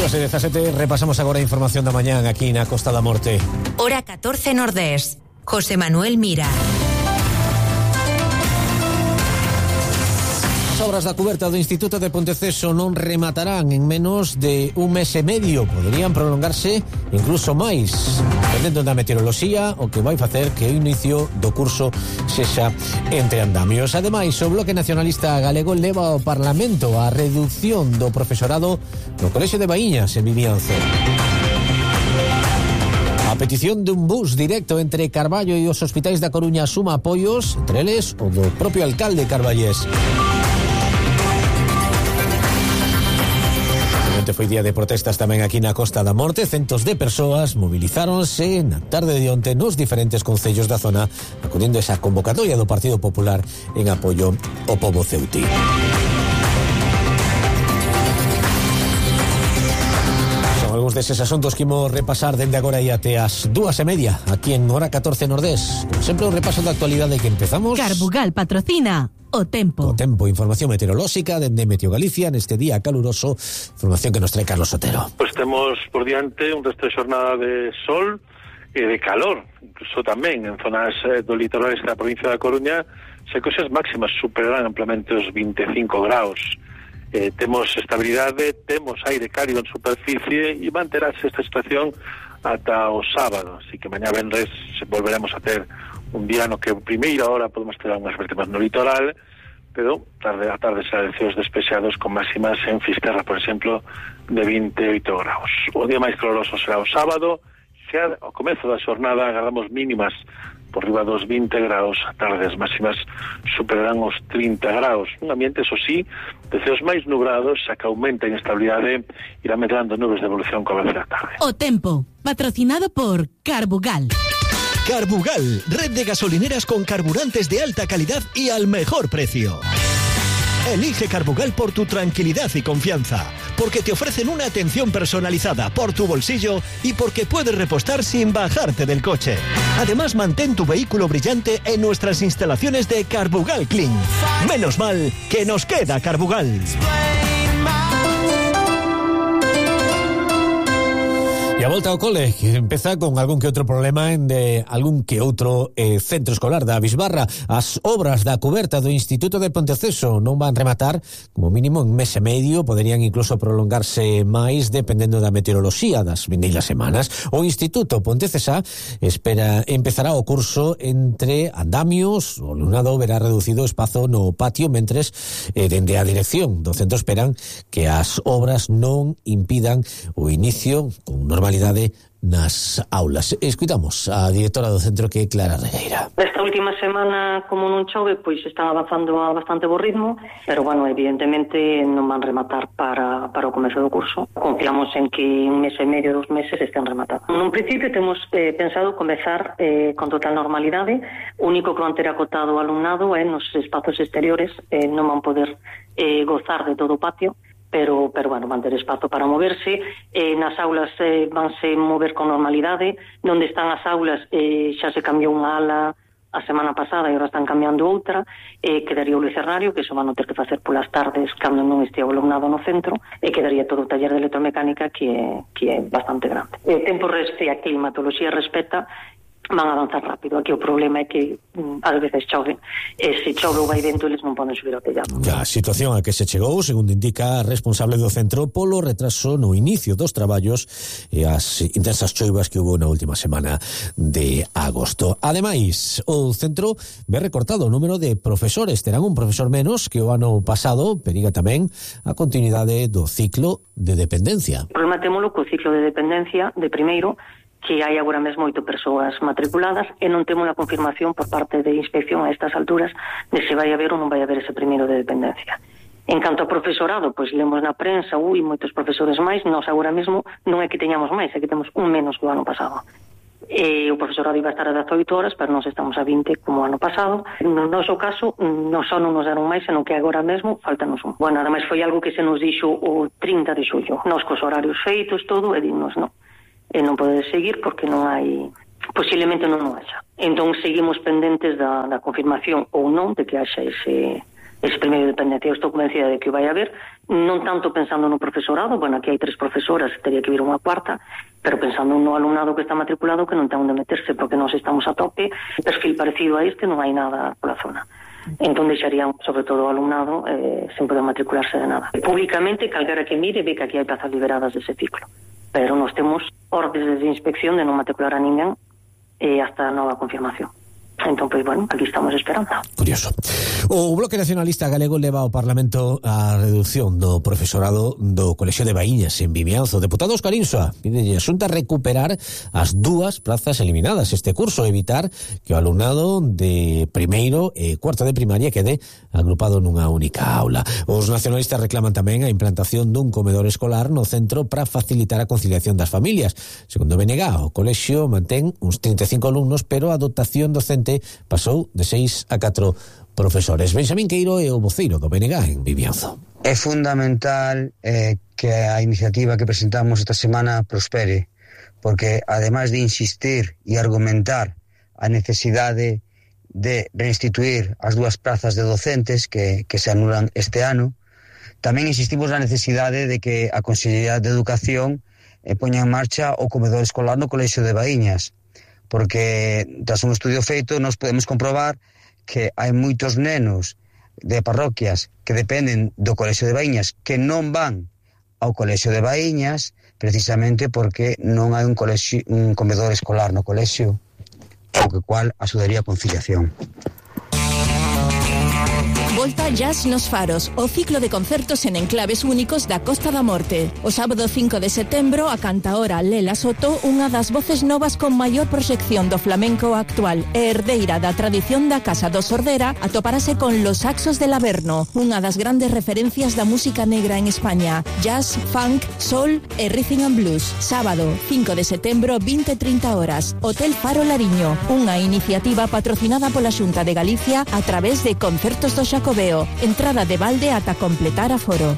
Horas e 17, repasamos agora a información da mañán aquí na Costa da Morte. Hora 14 Nordés. José Manuel Mira. As obras da cuberta do Instituto de Ponteceso non rematarán en menos de un mes e medio. Poderían prolongarse incluso máis, dependendo da meteoroloxía, o que vai facer que o inicio do curso sexa entre andamios. Ademais, o Bloque Nacionalista Galego leva ao Parlamento a reducción do profesorado no Colexio de Baíñas en Vimianzo. A petición dun bus directo entre Carballo e os hospitais da Coruña suma apoios, entre eles o do propio alcalde carballés. Foi día de protestas tamén aquí na Costa da Morte. Centos de persoas movilizáronse na tarde de onte nos diferentes concellos da zona, acudindo a esa convocatoria do Partido Popular en apoio ao pobo ceutí. Son algúns deses asuntos que imos repasar dende agora e até as 2:30 aquí en Hora 14 Nordés. Como sempre, o repaso da actualidade que empezamos. Carbugal patrocina O Tempo. O Tempo, información meteorolóxica dende Meteo Galicia neste día caluroso, información que nos trae Carlos Sotero. Pues temos por diante un resto de xornada de sol e de calor, incluso tamén en zonas do litoral da provincia da Coruña, se cousas máximas superarán amplamente os 25 graus. Temos estabilidade, temos aire cálido en superficie e manterase esta situación ata o sábado, así que mañá venres volveremos a ter un día no que a primeira hora podemos ter unhas vértimas no litoral, pero a tarde será de cieos despejados con máximas en Fisterra, por exemplo, de 28 graus. O día máis caloroso será o sábado, xa ao comezo da xornada agardamos mínimas por riba dos 20 graus, a tardes máximas superarán os 30 graus. Un ambiente, eso sí, de ceos máis nubrados, xa que aumenta a inestabilidade, irá medrando nubes de evolución co avance da tarde. O Tempo, patrocinado por Carbugal. Carbugal, red de gasolineras con carburantes de alta calidad y al mejor precio. Elige Carbugal por tu tranquilidad y confianza, porque te ofrecen una atención personalizada por tu bolsillo y porque puedes repostar sin bajarte del coche. Además, mantén tu vehículo brillante en nuestras instalaciones de Carbugal Clean. Menos mal que nos queda Carbugal. E a volta ao cole, que empeza con algún que outro problema de algún que outro centro escolar da Bisbarra. As obras da cuberta do Instituto de Ponteceso non van rematar, como mínimo, en mes e medio, poderían incluso prolongarse máis dependendo da meteoroloxía das vindeiras semanas. O Instituto Pontecesa empezará o curso entre andamios, o alumnado verá reducido o espazo no patio, mentres dende a dirección do centro esperan que as obras non impidan o inicio con normalidade nas aulas. Escuitamos a directora do centro, que é Clara Regueira. Esta última semana, como non chove, pois están avanzando a bastante bo ritmo, pero, bueno, evidentemente non van rematar para o comezo do curso. Confiamos en que un mes e medio, 2 meses estén rematados. Nun principio temos pensado comezar con total normalidade. O único que van ter acotado o alumnado é nos espazos exteriores, non van poder gozar de todo o patio, pero bueno, van ter espazo para moverse. Nas aulas vanse mover con normalidade. Onde están as aulas xa se cambiou unha ala a semana pasada e agora están cambiando outra. Quedaría o lucernario, que iso van a ter que facer polas tardes cando non estea o alumnado no centro, e quedaría todo o taller de electromecánica, que é bastante grande. Tempo e a climatoloxía respeta, van a avanzar rápido. Aquí o problema é que ás veces chove, e se chove ou vai vento, eles non poden subir ao tellado. A situación a que se chegou, segundo indica a responsable do centro, polo retraso no inicio dos traballos e as intensas choivas que hubo na última semana de agosto. Ademais, o centro ve recortado o número de profesores. Terán un profesor menos que o ano pasado. Periga tamén a continuidade do ciclo de dependencia. O problema témolo co ciclo de dependencia de primeiro, que hai agora mesmo 8 persoas matriculadas, e non temos a confirmación por parte de inspección a estas alturas de se vai haber ou non vai haber ese primeiro de dependencia. En canto ao profesorado, pois lemos na prensa, moitos profesores máis. Nós agora mesmo non é que teñamos máis, é que temos un menos que o ano pasado. O profesorado iba a estar a 18 horas, pero nós estamos a 20 como o ano pasado. No noso caso, non só non nos deron máis, senón que agora mesmo faltanos un. Bueno, ademais foi algo que se nos dixo o 30 de xullo. Nós cos horarios feitos, todo, e dimos non. E non pode seguir porque non hai, posiblemente non haxa. Entón seguimos pendentes da confirmación ou non de que haxa ese ese primeiro de dependencia. Eu estou convencida de que o vai haber, non tanto pensando no profesorado, bueno, aquí hai 3 profesoras, teria que vir unha cuarta, pero pensando no alumnado que está matriculado, que non ten onde meterse, porque nós estamos a tope, perfil parecido a este non hai nada pola zona. Entón deixarían, sobre todo o alumnado, sen poder matricularse de nada. Públicamente, calquera que mire, ve que aquí hai plazas liberadas dese ciclo, pero nós temos ordes de inspección de non matricular a ninguén hasta nova confirmación. Entón, pois, bueno, aquí estamos esperando. Curioso. O Bloque Nacionalista Galego leva ao Parlamento a reducción do profesorado do Colexio de Baíñas en Vimianzo. Deputado Óscar Insua pide a Xunta recuperar as 2 plazas eliminadas este curso, evitar que o alumnado de primeiro e cuarto de primaria quede agrupado nunha única aula. Os nacionalistas reclaman tamén a implantación dun comedor escolar no centro para facilitar a conciliación das familias. Segundo BNG, o colexio mantén uns 35 alumnos, pero a dotación docente pasou de 6 a 4 profesores. Benxamín Queiro é o voceiro do BNG en Vimianzo. É fundamental que a iniciativa que presentamos esta semana prospere, porque ademais de insistir e argumentar a necesidade de reinstituir as 2 plazas de docentes que se anulan este ano, tamén insistimos na necesidade de que a Consellería de Educación poña en marcha o comedor escolar no Colexio de Baíñas, porque tras un estudio feito nos podemos comprobar que hai moitos nenos de parroquias que dependen do Colexio de Baíñas que non van ao Colexio de Baíñas precisamente porque non hai un comedor escolar no colexio, o cual axudaría a conciliación. Volta Jazz nos Faros, o ciclo de concertos en enclaves únicos da Costa da Morte. O sábado 5 de setembro, a cantaora Lela Soto, unha das voces novas con maior proxección do flamenco actual e herdeira da tradición da Casa do Sordera, atoparase con Los Saxos del Averno, unha das grandes referencias da música negra en España. Jazz, funk, soul e rhythm and blues. Sábado 5 de setembro, 20:30 horas. Hotel Faro Lariño, unha iniciativa patrocinada pola Xunta de Galicia a través de Concertos do Xacobeo. Entrada de balde ata completar aforo.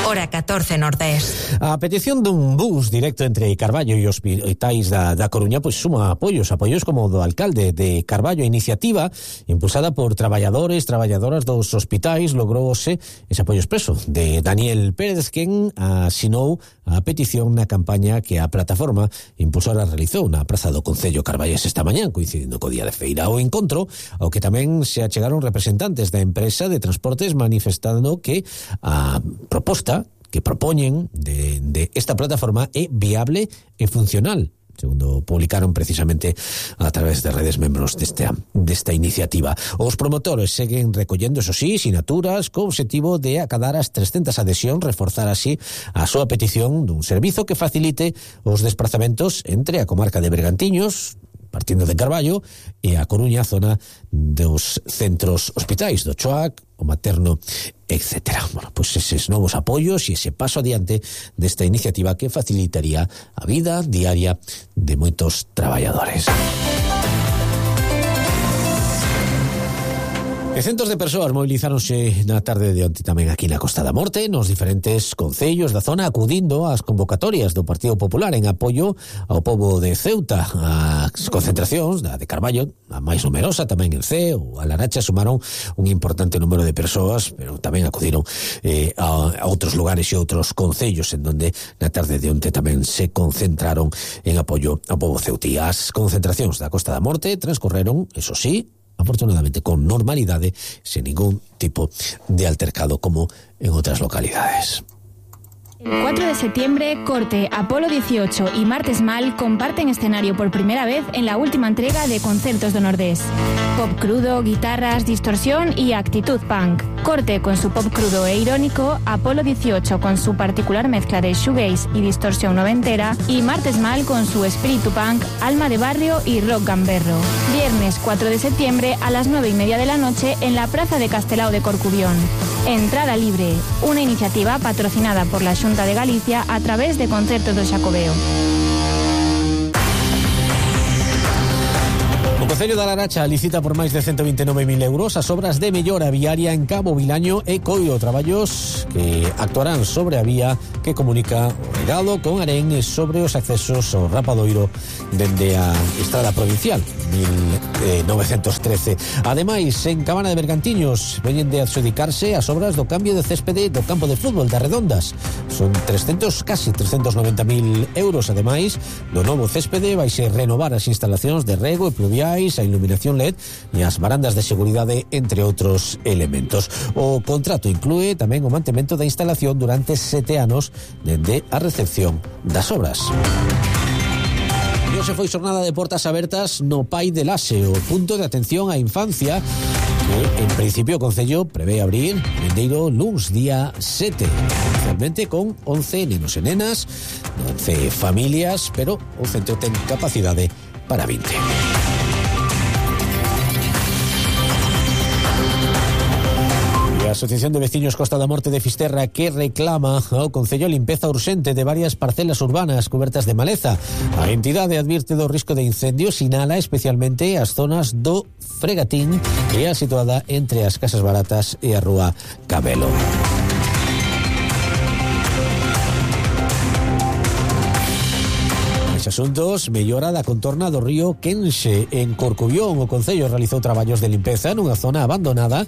Hora 14 Nordés. A petición dun bus directo entre Carballo e hospitais da Coruña pois suma apoios como do alcalde de Carballo. A iniciativa impulsada por traballadoras dos hospitais logrouse ese apoio expreso de Daniel Pérez, quen asinou a petición na campaña que a plataforma impulsora realizou na Praza do Concello Carballés esta mañán, coincidindo co día de feira. O encontro ao que tamén se achegaron representantes da empresa de transportes manifestando que a proposta que propoñen de esta plataforma é viable e funcional, segundo publicaron precisamente a través de redes membros desta iniciativa. Os promotores seguen recollendo, eso sí, sinaturas co obxectivo de acadar as 300 adhesións, reforzar así a súa petición dun servizo que facilite os desplazamentos entre a comarca de Bergantiños, partindo de Carballo, e a Coruña, zona dos centros hospitais do Choac, o Materno, etc. Bueno, pois eses novos apoios e ese paso adiante desta iniciativa que facilitaría a vida diaria de moitos traballadores. E centos de persoas movilizáronse na tarde de onte tamén aquí na Costa da Morte, nos diferentes concellos da zona, acudindo ás convocatorias do Partido Popular en apoio ao pobo de Ceuta. As concentracións da de Carballo, a máis numerosa, tamén en Ceo, a Laracha, sumaron un importante número de persoas, pero tamén acudiron a outros lugares e outros concellos en donde na tarde de onte tamén se concentraron en apoio ao pobo ceutí. As concentracións da Costa da Morte transcorreron, eso sí, afortunadamente con normalidade, sen ningún tipo de altercado como en otras localidades. El 4 de septiembre, Corte, Apolo 18 y Martes Mal comparten escenario por primera vez en la última entrega de Concertos do Nordés. Pop crudo, guitarras, distorsión y actitud punk. Corte con su pop crudo e irónico, Apolo 18 con su particular mezcla de shoegaze y distorsión noventera y Martes Mal con su espíritu punk, alma de barrio y rock gamberro. Viernes 4 de septiembre a las 9:30 de la noche en la Plaza de Castelao de Corcubión. Entrada libre, una iniciativa patrocinada por la Xunta de Galicia a través de Concertos do Xacobeo. O Concello da Laracha licita por máis de 129.000 euros as obras de mellora viaria en Cabo Vilaño e Coio, traballos que actuarán sobre a vía que comunica o Regado con Arén e sobre os accesos ao Rapadoiro dende a estrada provincial 1000 1913. Ademais, en Cabana de Bergantiños veñen de adxudicarse as obras do cambio de céspede do campo de fútbol das Redondas. Son casi 390.000 euros. Ademais, do novo céspede vaise renovar as instalacións de rego e pluviais, a iluminación LED e as barandas de seguridade, entre outros elementos. O contrato inclúe tamén o mantemento da instalación durante 7 anos dende a recepción das obras. E hoxe foi xornada de portas abertas no Pai de Laxe, o punto de atención á infancia que, en principio, o Concello prevé abrir vendeiro luns día 7, inicialmente con 11 nenos e nenas, 11 familias, pero o centro ten capacidade para 20. A Asociación de Veciños Costa da Morte de Fisterra, que reclama ao Concello limpeza urxente de varias parcelas urbanas cubertas de maleza. A entidade advirte do risco de incendio, sinala especialmente as zonas do Fregatín, que é situada entre as Casas Baratas e a Rúa Cabelo. Asuntos, mellora da contorna do río Quenxe en Corcubión. O Concello realizou traballos de limpeza nunha zona abandonada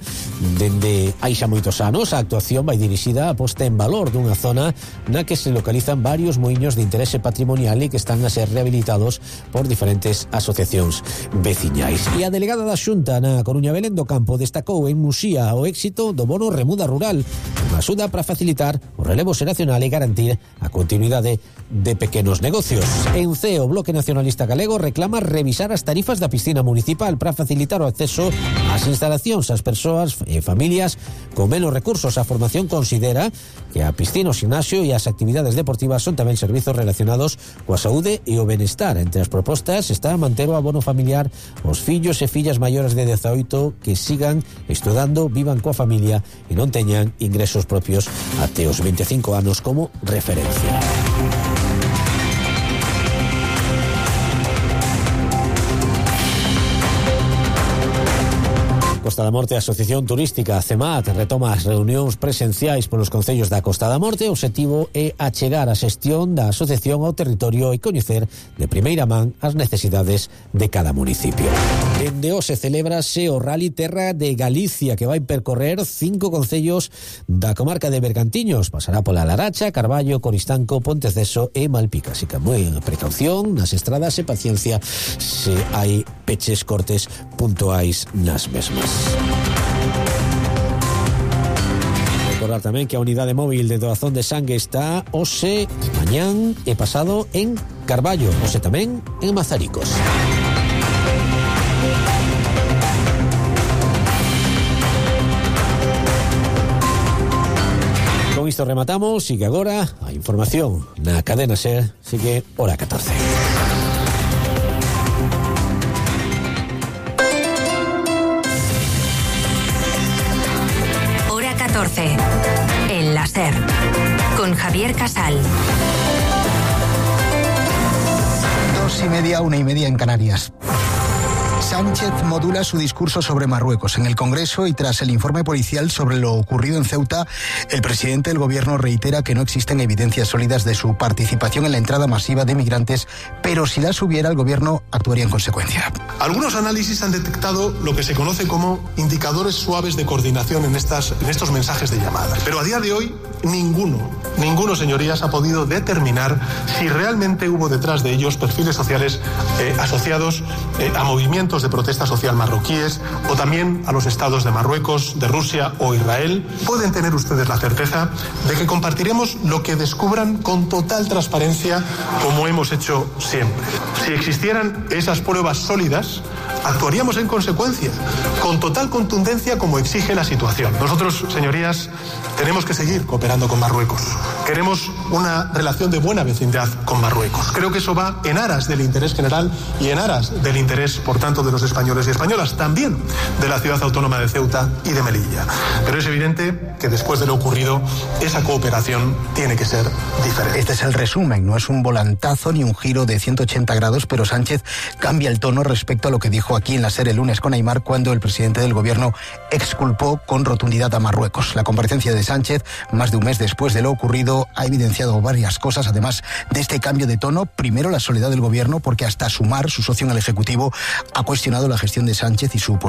dende hai xa moitos anos. A actuación vai dirixida a posta en valor dunha zona na que se localizan varios muiños de interese patrimonial e que están a ser rehabilitados por diferentes asociacións veciñais. E a delegada da Xunta na Coruña, Belén do Campo, destacou en Muxía o éxito do bono remuda rural, unha axuda para facilitar o relevo xeracional e garantir a continuidade de pequenos negocios. En o Bloque Nacionalista Galego reclama revisar as tarifas da piscina municipal para facilitar o acceso ás instalacións ás persoas e familias con menos recursos. A formación considera que a piscina, o gimnasio e as actividades deportivas son tamén servizos relacionados coa saúde e o benestar. Entre as propostas está manter o abono familiar os fillos e fillas maiores de 18 que sigan estudando, vivan coa familia e non teñan ingresos propios até os 25 anos como referencia. Costa da Morte, a Asociación Turística CEMAT retoma as reunións presenciais polos concellos da Costa da Morte. O obxectivo é achegar a xestión da asociación ao territorio e coñecer de primeira man as necesidades de cada municipio. Dende hoxe celébrase o Rally Terra de Galicia, que vai percorrer 5 concellos da comarca de Bergantiños. Pasará pola Laracha, Carballo, Coristanco, Ponteceso e Malpica. Así que moi precaución nas estradas e paciencia se hai peches, cortes puntuais nas mesmas. Recordar tamén que a unidade móvil de doazón de sangue está hoxe, mañán e pasado en Carballo, hoxe tamén en Mazaricos. Con isto rematamos e que agora a información na cadena SER sigue hora 14. En la SER, con Javier Casal. 2:30, 1:30 en Canarias. Sánchez modula su discurso sobre Marruecos. En el Congreso y tras el informe policial sobre lo ocurrido en Ceuta, el presidente del gobierno reitera que no existen evidencias sólidas de su participación en la entrada masiva de migrantes, pero si las hubiera, el gobierno actuaría en consecuencia. Algunos análisis han detectado lo que se conoce como indicadores suaves de coordinación en estos mensajes de llamada. Pero a día de hoy, ninguno, señorías, ha podido determinar si realmente hubo detrás de ellos perfiles sociales asociados a movimientos de protesta social marroquíes o también a los estados de Marruecos, de Rusia o Israel. Pueden tener ustedes la certeza de que compartiremos lo que descubran con total transparencia, como hemos hecho siempre. Si existieran esas pruebas sólidas, actuaríamos en consecuencia, con total contundencia como exige la situación. Nosotros, señorías, tenemos que seguir cooperando con Marruecos. Queremos una relación de buena vecindad con Marruecos. Creo que eso va en aras del interés general y en aras del interés, por tanto, de los españoles y españolas, también de la ciudad autónoma de Ceuta y de Melilla. Pero es evidente que después de lo ocurrido, esa cooperación tiene que ser diferente. Este es el resumen, no es un volantazo ni un giro de 180 grados, pero Sánchez cambia el tono respecto a lo que dijo aquí en la SER el lunes con Aimar, cuando el presidente presidente del gobierno exculpó con rotundidad a Marruecos. La comparecencia de Sánchez, más de un mes después de lo ocurrido, ha evidenciado varias cosas, además de este cambio de tono. Primero, la soledad del gobierno, porque hasta Sumar, su socio en el Ejecutivo, ha cuestionado la gestión de Sánchez y su